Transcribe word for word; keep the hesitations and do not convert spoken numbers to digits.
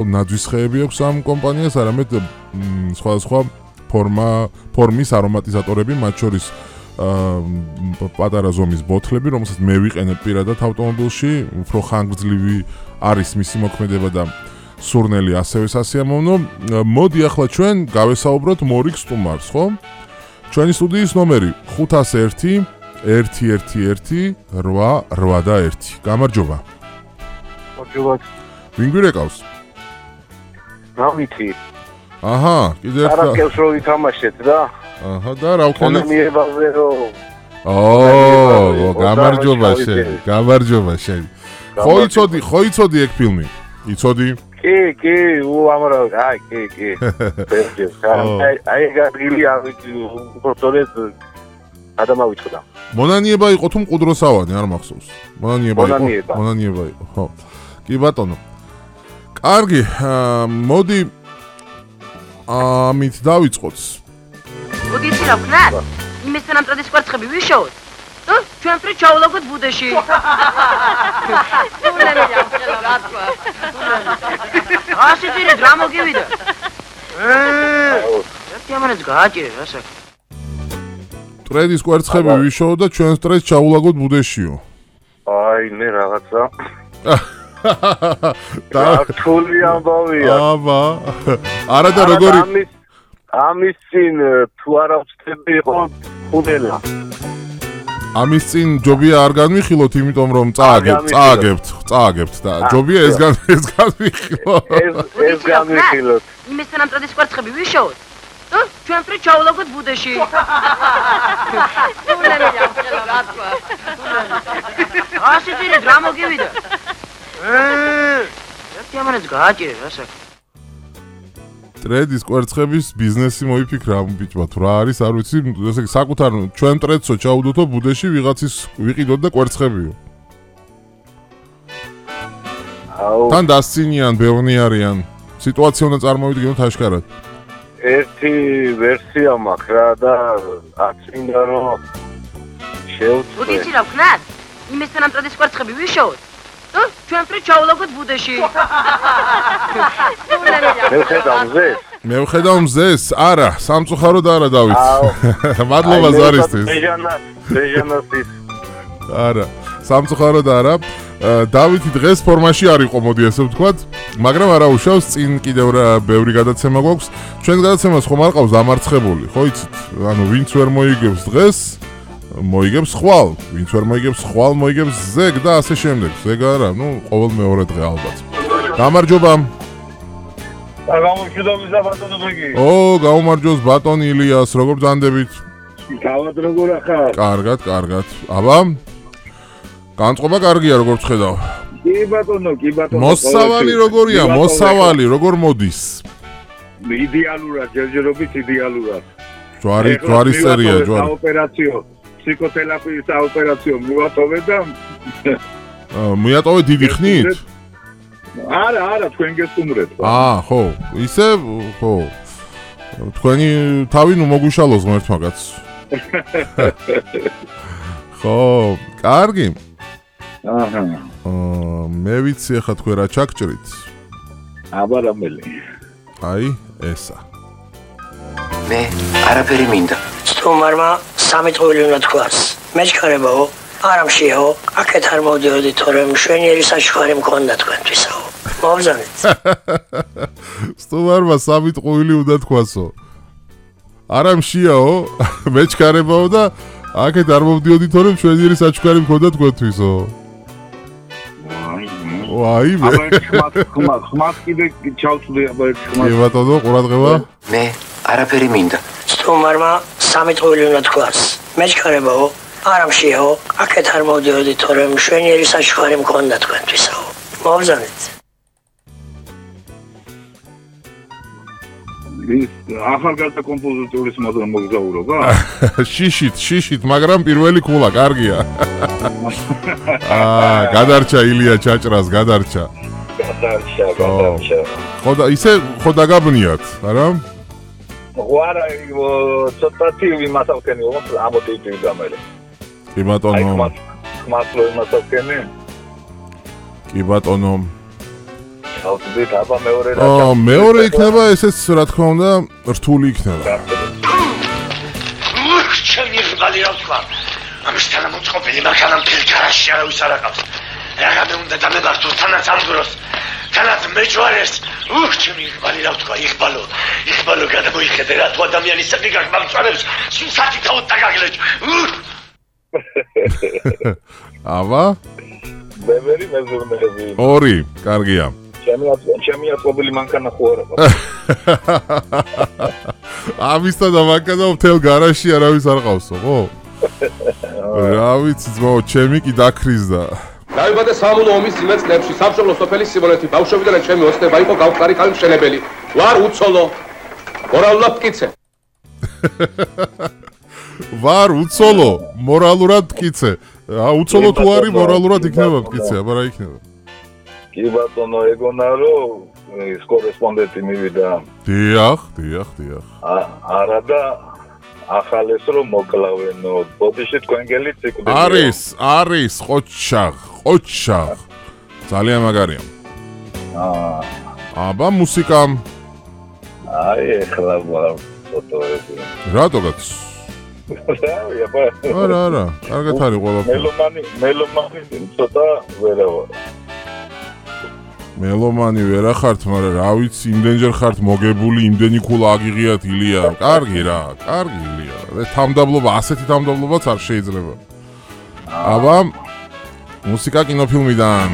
ნაძვის ხეები აქვს ამ კომპანიას, არამედ სხვადასხვა ფორმა, ფორმის არომატიზატორები, მათ შორის პატარა ზომის ბოთლები, რომელსაც მე ვიყენებ პირადად ავტომობილში, უფრო ხანგრძლივი არის მისი მოქმედება და სურნელი ასევე სასიამოვნო. მოდი ახლა ჩვენ გავესაუბროთ მორიგ სტუმარს, ხო? ჩვენი სტუდიის ნომერი ხუთას ერთი ერთი ერთი ერთი რვა რვა და ერთი. გამარჯობა. გამარჯობა. ვინ გვირეკავს? რა ვიცი. აჰა, კიდე ერთხელ. არაკელს რო ვითამაშეთ და. აჰა, და რა ვქენეთ? მონანიებაზე რო. ო, გამარჯობა შენ, გამარჯობა შენ. ხო იცოდი, ხო იცოდი ეგ ფილმი? იცოდი? კი, კი, უამრავ, აი, კი, კი. ბერჯეს, აი, აი გაგვილი ავიცი, უბრალოდ ადამავიწყდა. მონანიება იყო თუ მყუდროსავანი, არ მახსოვს. მონანიება იყო. მონანიება. მონანიება იყო, ხო. კი ბატონო. კარგი, მოდი ამით დავიწყოთ. მოდი იცი რა ვქნათ? იმის თანამწოდის კვერცხები ვიშოვოთ. და ჩვენ ფრე ჩავლაგოთ ბუდეში. სულები ამხელა რა თქვა. ასე ძირე რა მოგივიდა? ერთი ამანაც გააჭირე რა საქმე. ტრედის კვერცხები ვიშოვოთ და ჩვენ ტრედს ჩავლაგოთ ბუდეშიო. აი, მე რაღაცა. და რთული ამბავია. აბა. არა და როგორი ამის ამის წინ თუ არა ვწდები იყო ხუნელა. ამის წინ ჯობია არ განვიხილოთ, იმიტომ რომ წააგებთ, წააგებთ, წააგებთ და ჯობია ეს გან ეს განვიხილოთ. ეს ეს განვიხილოთ. იმის თანამწოდის კვერცხები ვიშოვოთ. და ჩვენ ფრე ჩავლაგოთ ბუდეში. სულები ამხელა რა თქვა. ასე ძირე რა მოგივიდა? ერთი ამანაც გააჭირე რა საქმე. ტრედის კვერცხების ბიზნესი მოიფიქრა ამ ბიჭმა, თუ რა არის, არ ვიცი, ესე იგი საკუთარ ჩვენ ტრედსო ჩაუდოთო ბუდეში ვიღაცის ვიყიდოთ და კვერცხებიო. აუ. თან დასცინიან, ბევრი არიან. სიტუაცია უნდა წარმოვიდგინოთ აშკარად. ერთი ვერსია მაქვს რა და აწმინდა რომ მოდი შევწყვე. იცი რა ვქნათ? იმის თანამწოდის კვერცხები ვიშოვოთ. და ჩვენ ფრე ჩავლაგოთ ბუდეში. მე ვხედავ მზეს. მე ვხედავ მზეს, არა, სამწუხაროდ არა დავით. მადლობა ზარისთვის. ბეჟანა, ბეჟანასის. არა, სამწუხაროდ არა. დავითი დღეს ფორმაში არ იყო, მოდი ასე ვთქვათ, მაგრამ არა უშავს, წინ კიდევ ბევრი გადაცემა გვაქვს. ჩვენ გადაცემას ხომ არ ყავს დამარცხებული, ხო იცით? ანუ ვინც ვერ მოიგებს დღეს, მოიგებს ხვალ, ვინც ვერ მოიგებს ხვალ, მოიგებს ზეგ და ასე შემდეგ. ზეგ არა, ნუ ყოველ მეორე დღე ალბათ. გამარჯობა. გამომშვიდობის და ბატონო ბეგი. ო, გაუმარჯოს ბატონ ილიას, როგორ ბრძანდებით? გავად როგორ ახარ? კარგად, კარგად. აბა. განწყობა კარგია, როგორ ვხედავ. კი ბატონო, კი ბატონო. მოსავალი როგორია, მოსავალი როგორ მოდის? იდეალურად, ჯერჯერობით იდეალურად. ჯვარი, ჯვარი სერია, ჯვარი. ოპერაციო, ფსიქოთერაპიის ოპერაციო მივატოვე და მიატოვე დიდი ხნით? არა, არა, თქვენ გესტუმრეთ. აა, ხო, ისე, ხო. თქვენი თავი ნუ მოგვიშალოს ღმერთმა კაცს. ხო, კარგი. აჰა. აა, მე ვიცი ახლა თქვენ რა ჩაგჭრით. აბა რამელი. აი, ესა. მე არაფერი მინდა. სტუმარმა სამი წვილი უნდა თქვას. მეჩქარებაო, არამშიაო, აქეთ არ მოვდიოდი, თორემ მშვენიერი საჩუქარი მქონდა თქვენთვისაო. მოვზანეთ. სტუმარმა სამი წვილი უნდა თქვასო. არამშიაო, მეჩქარებაო და აქეთ არ მოვდიოდი, თორემ მშვენიერი საჩუქარი მქონდა თქვენთვისო. ვაი, მე. ხმას, ხმას, ხმას კიდე ჩავწვდი, აბა ერთ ხმას. კი ბატონო, ყურადღება. მე არაფერი მინდა. სტუმარმა სამი წვილი უნდა თქვას. მეჩქარებაო, არამშიაო, აქეთ არ მოვდიოდი, თორემ მშვენიერი საჩუქარი მქონდა თქვენთვისაო. მოვზანეთ. ახალგაზრდა კომპოზიტორის მოგზაურობა? შიშით, შიშით, მაგრამ პირველი ქულა, კარგია. აა, გადარჩა ილია ჩაჭრას, გადარჩა. გადარჩა, გადარჩა. ხო და ისე ხო დაგაბნიათ, არა? ვარა, ცოტათი ვიმასავქენი, ამოდიდი გამერე. კი ბატონო. ხმას რო იმასავქენი? კი ბატონო. ავწდით აბა მეორე რა აა მეორე იქნება ესეც რა თქმა უნდა რთული იქნება. ჩემი ღბალი რა თქვა ამისთან მოწყობილი მაგალამ ფილ გარაში არავის არ აყავს რაგამე უნდა დამებართო თანაც ამ დროს თანაც მეჯვარეს უх ჩემი ღბალი რა თქვა იღბალო იღბალო გადამოიხედე რა თუ ადამიანის საკი გაგმამწვანებს სულსათი თავად დაგაგლეჭ აბა ბევრი მეზურნეები ორი კარგია ჩემი ჩემი აკობილი მანქანა ხო არა ამისთან და მანქანა მთელ გარაში არავის არ ყავსო ხო რა ვიცი ძმაო ჩემი კი დაქრიზდა დაიბადე სამონო ომის ძიმე წლებში სამშობლო სოფელი სიმონეთი ბავშვობიდან ჩემი ოცნება იყო გავხარი ხალი მშენებელი ვარ უცოლო მორალურად მტკიცე ვარ უცოლო მორალურად მტკიცე ა უცოლო თუ არის მორალურად იქნება მტკიცე აბა რა იქნება კი ბატონო ეგონა რომ ის კორესპონდენტი მივიდა დიახ დიახ დიახ არა და ახალეს რომ მოკლავენო ბოდიში თქვენ გელით ციკლი არის არის ყოჩაღ ყოჩაღ ძალიან მაგარია აა აბა მუსიკამ აი ეხლა ფოტოები რატოგაც არა არა კარგად არის ყველაფერი მელომანი მელომანი ცოტა ვერავა მელომანი ვერა ხართ მაგრამ რა ვიცი იმდენჯერ ხართ მოგებული იმდენი ქულა აგიღიათ ილია კარგი რა კარგი ილია თამდაბლობა ასეთი თამდაბლობაც არ შეიძლება აბა მუსიკა კინოფილმიდან